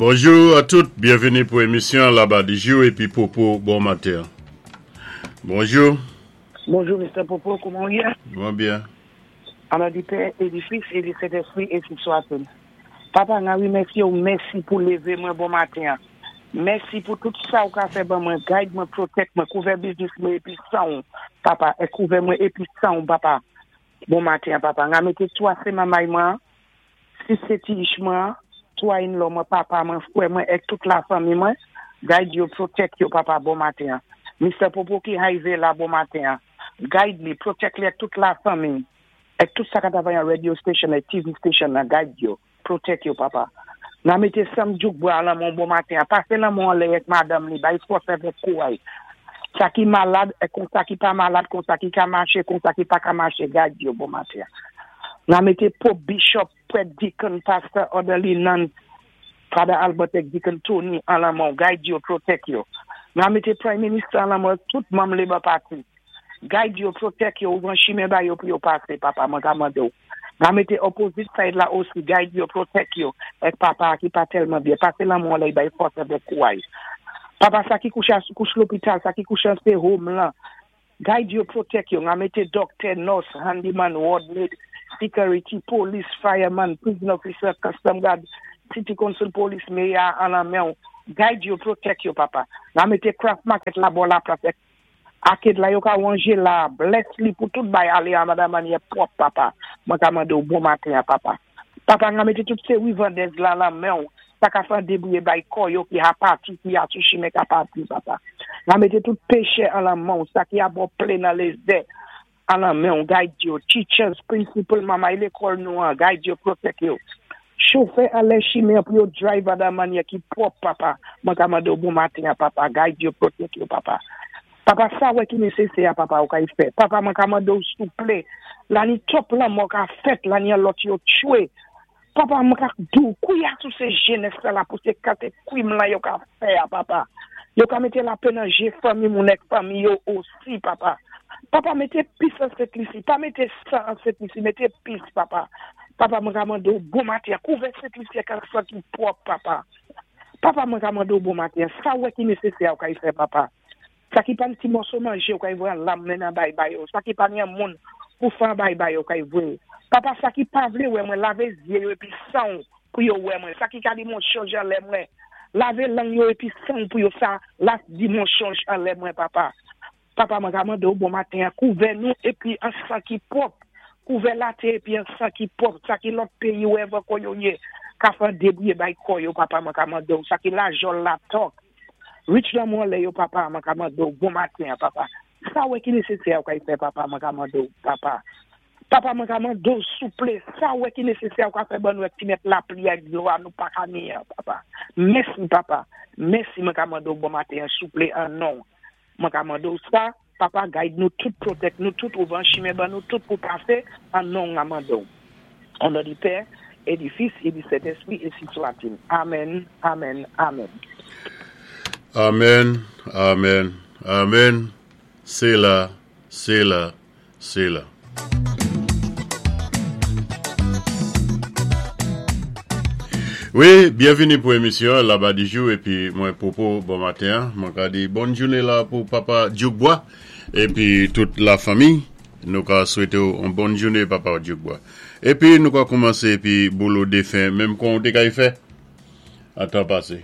Bonjou a tout, byenvini pou emisyon Laba di jou epi Popo bon maten. Bonjou. Bonjou Mister Popo, kouman ou ye? Mwen byen. An non di Pè e di Fis e di Sentespri ensi swatil. Papa nan remèsye ou mèsi pou leve mwen bon maten an. Mèsi pou tout sa ou ka fè ban mwen guide mwen protect mwen kouvè biznis mwen epi sanw papa e kouvè mwen epi sanw papa bon maten an papa nga mete 3 se mamay mwen an 6 se ti ich mwen an 3 in law mwen papa mwen frè mwen ek tout la fanmi mwen guide yo protect yo papa bon maten an Mister popo ki hive la bon maten an guide li protect li ek tout la fanmi ek tout sa ka travay an radio station ek TV station nan guide yo Protect yo papa. Nan mete sanm djouk bra lanmò bon maten an pase lanmò anlè ek madanm li bay fòs avèk kouray sa ki malad ek kon sa ki pa malad kon sa ki ka mache kon sa ki paka mache gad yo bon maten an nan mete pope bishop prèt deacon pastor orderly nuns father Albert ek deacon Tony an lanmò guide yo protect yo nan mete prime minister an lanmò ek tout manm labour party Guide yo, protect yo, ouvran chimen ba yo pou yo pase, papa, mwen ka mande w. Ba mete opposite side la osi, guide yo, protect yo, ek papa a ki pa telman byen, pase lanmou anlè bay fòs avèk kouray. Papa sa ki kouche a sou kouch lopital, sa ki kouche an se home lan, guide yo, protect yo, nga mete doctor, nurse, handyman, ward maid, security, police, fireman, prison officer, custom guard, city council police, mayor an lan men w, guide yo, protect yo, papa. Nga mete craft market la bò la plas ek Arcade la yo ka ranje la bless li pou tout bay ale a mada manyè pwòp papa mwen ka mandew bon maten an papa papa nga mete tout seri vandèz la lan menw sa ka fè an debouye bay kò yo ki ha pati ki ha sou chimen ka pati papa nga mete tout pechè an lan menw sa ki a bò ple nan lezè an lan menw guide yo teachers principal mamay lekòl nou an guide yo protect yo chofè anlè chimen an pou yo drive a da manyè ki pwòp papa mwen ka mandew bon maten an papa guide yo protect yo papa papa sa wè ki nesesè a papa ou kay fè papa mwen ka mandew souple lani twòp lanmò ka fèt lani an lòt yo tchwe Papa mwen ka diw kouya sou se jenès la la pou se kate kwim lan yo ka fè a papa yo ka mete lapè nan je fanmi moun èk fanmi yo osi papa papa mete pis an sentlisi pa mete sang an sentlisi mete pis papa papa mwen ka mandew bon maten an kouvè sentlisi ak ak sang ki pwòp papa papa mwen ka mandew bon maten an sa wè ki nesesè a ou kay fè papa. Sa ki pa n ti mòso manje ou kay voye an lam men nan bay ba yo sa ki pa ni an moun pou fè an bay ba yo kay voye papa sa ki pa vle wè mwen lave zye yo epi sanw pou yo wè mwen sa ki ka di monchonj anlè mwen lave lang yo epi sanw pou yo sa las di monchonj anlè mwen papa papa mwen ka mande w bon maten an kouvè nou epi an sang ki pwòp kouvè latè epi an sang ki pwòp sa ki lòt peyi wèvè kò yo ye ka fè an debouye bay kò yo papa mwen ka mande w sa ki lajòl latòk Rich lanmou anlè yo papa mwen ka mande w bon maten an papa sa w wè ki nesesè a ou ka fè papa mwen ka mande w papa papa mwen ka mande w souple sa w wè ki nesesè a ou ka fè ban nou ak ti mèt lapli ak dlo a nou pa ka ni an papa mèsi papa mèsi mwen ka mande w bon maten an souple an non mwen ka mande w sa papa guide nou tout protect nou tout ouvan chimen ban nou tout pou pase an non m ka mande w O non di Pè, e di Fis, e di Sentespri, e si swatil. Amèn, amèn, amèn. Amèn, amèn, amèn, Sela, sela, sela. Wi, byenvini pou emisyon an Laba di jou epi mwen Popo bon maten an. Mwen ka di bòn jounen la pou papa Djoukbwa epi tout la fanmi. Nou ka swete w on bòn joune papa Djougbwa. Epi nou ka koumanse epi bolo defen menm kon ou te kay fè an tan pase.